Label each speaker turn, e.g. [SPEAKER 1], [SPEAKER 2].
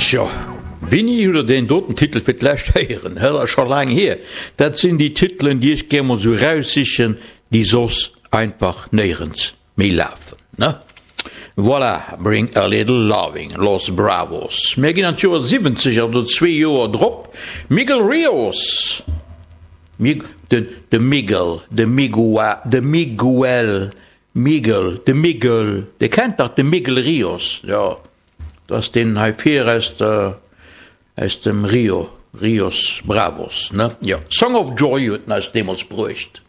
[SPEAKER 1] Tjo, wéini hutt der deen doten Titel fir d'lescht héieren? Dat ass scho laang hier. Dat sinn déi Titelen, déi ech gär mol sou eraussichen, déi soss einfach néierens méi lafen, ne? Voilà, Bring a Little Loving, Los Bravos. Mir ginn an d'Joer 70, also zwee Joer drop, Miguel Rios, Mig, de, de Miguel, de Migua, de Miguel, Miguel, de Miguel, Dir kennt dach de Miguel Rios, jo, dat ass deen hei vir aus der, aus dem Rio, Rios Bravos, ne? Jo, Song of Joy huet en eis deemools bruecht.